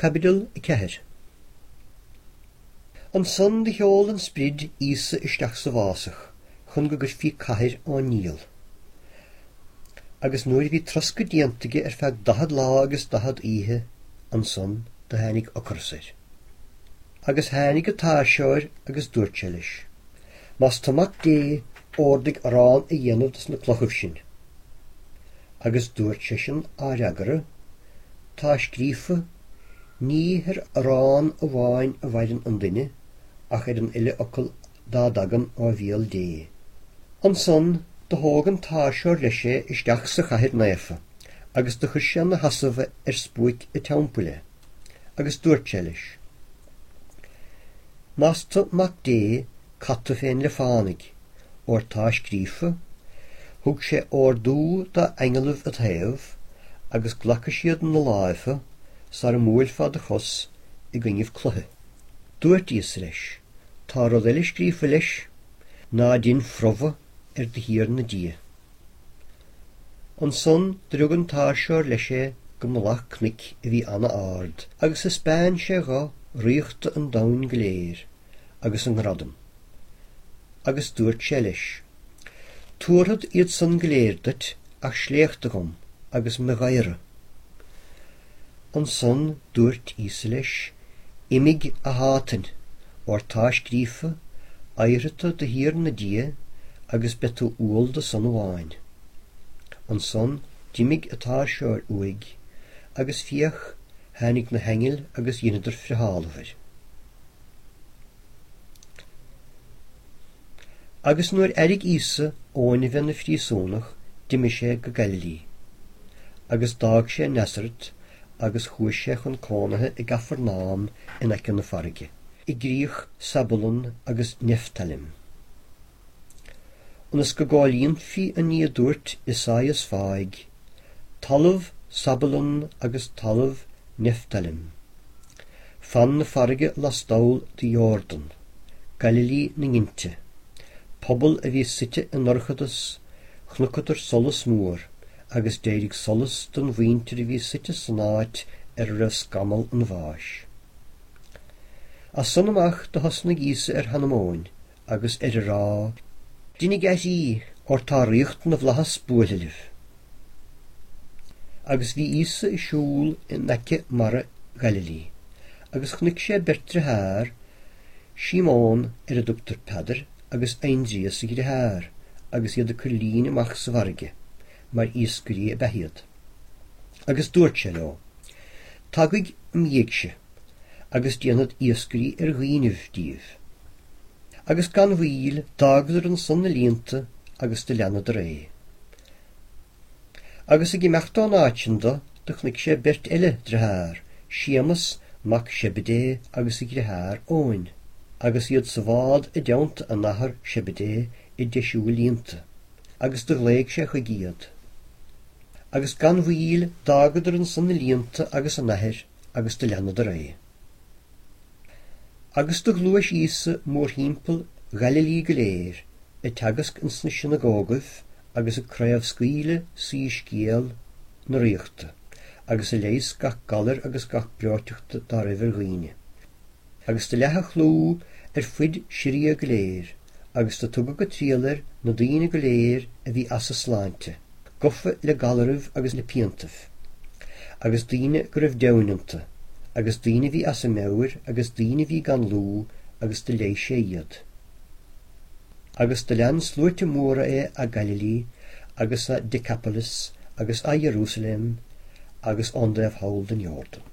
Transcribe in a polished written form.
Caibidil 4. Ansan do sheol an Sprid Íosa isteach sa bhfásach chun go gcuirfí cathair ón nDiabhal. Agus nuair a bhí troscadh déanta aige ar feadh dathad lá agus dathad oíche, ansan do tháinig ocras air. Agus tháinig an tairseoir agus dúirt sé leis, Más tu Mac Dé, órdaigh arán a dhéanamh de sna clochaibh sin. Agus dúirt seisean á fhreagra, Tá scríofa, Ní ar arán amháin a mhaireann an duine, ach ar an uile fhocal dá dtagann ó bhéal Dé. Ansan do thóg an tairseoir leis é isteach sa chathair naofa, agus do chuir sé 'na sheasamh ar spuaic a' teampaill é, agus dúirt sé leis, Más tu Mac Dé, caith tu féin le fánaidh, óir tá scríofa, Thug sé órdú dá aingealaibh id thaobh, agus glacfaidh siad 'na láimh thu, sara mbuailfeá do chos i gcoinnibh cloiche. Dúirt Íosa leis, Tá rud eile scríofa leis, Ná dein phrobhadh ar do Thiarna Dia. Ansan do rug an tairseoir leis é go mullach cnuic a bhí ana-árd, agus thaispeáin sé dho ríochta an domhain go léir, agus a ngradam. Agus dúirt sé leis, Tabharfad iad san go léir duit ach sléachtadh dhom agus me dh'adhradh. Ansan dúirt Íosa leis, Imigh, a Shátain, óir tá scríofa, Adharfaidh tú do Thiarna Dia agus beidh tú umhal dó san amháin. Ansan d'imigh an tairseoir uaidh, agus féach, tháinig na haingil agus dheineadar friothálamh air. Agus nuair airigh Íosa Eoin a bheith 'na phríosúnach d'imigh sé go Gaililí. Agus d'fhág sé Nasaret agus chuaigh sé chun cónaithe i gCafarnáum in aice na farraige, i gcríoch Sabulun agus Nephtalim. Ionas go gcomhlíonfaí an ní a dúirt Isaias fáidh, Talamh Sabulun agus talamh Nephtalim. Fan na farraige lastall de Iórdan, Gaililí na nGinte, pobal a bhí suite i ndorchadas, chonaiceadar solas mór, agus d'éirigh solas don mhuintir a bhí suite san áit ar a raibh scamall an bháis. As san amach do thosnaigh Íosa ar chanmóin agus ar a rá, Deinidh aithrí, óir tá ríocht na bhflaitheas buailthe libh. Agus bhí Íosa ag siúl in aice mara Ghaililí, agus chonaic sé beirt driothár, Síomón, ar a dtugtar Peadar, agus Aindrias a dhriotháir, agus iad ag cur lín amach sa bhfarraige, mar iascairí ab ea iad. Agus dúirt sé leo, Tagaidh im dhiaidhse, agus déanfad iascairí ar dhaoinibh díbh. Agus gan mhoill d'fhágadar ansan na líonta agus do leanadar é. Agus ag imeacht ón áit sin do, do chonaic sé beirt eile driothár, Séamas mac Shebidé agus a dhriotháir Eoin, agus iad sa bhád i dteannta a n-athar Shebidé ag deisiú a líonta, agus do ghlaoigh sé chuige iad. Agus gan mhoill d'fhágadar ansan a líonta agus a n-athair agus do leanadar é. Agus do ghluais Íosa mórthimpeall Ghaililí go léir, ag teagasc ins na sionagógaibh agus ag craobhscaoileadh soíscéal na ríochta, agus ag leigheas gach galair agus gach breoiteachta dá raibh ar dhaoine. Agus do leath a chlú ar fuid Siria go léir, agus do tugadh ag triall air na daoine go léir a bhí as a sláinte, gofa le galaraibh agus le piantaibh, agus daoine go raibh deamhain iontu, agus daoine a bhí as a meabhair, agus daoine a bhí gan lúth, agus do leighis sé iad. Agus do lean sluaite móra é a' Gaililí, agus a' Decapolis, agus a' Ierúsalem, agus ón dtaobh thall den Iórdan.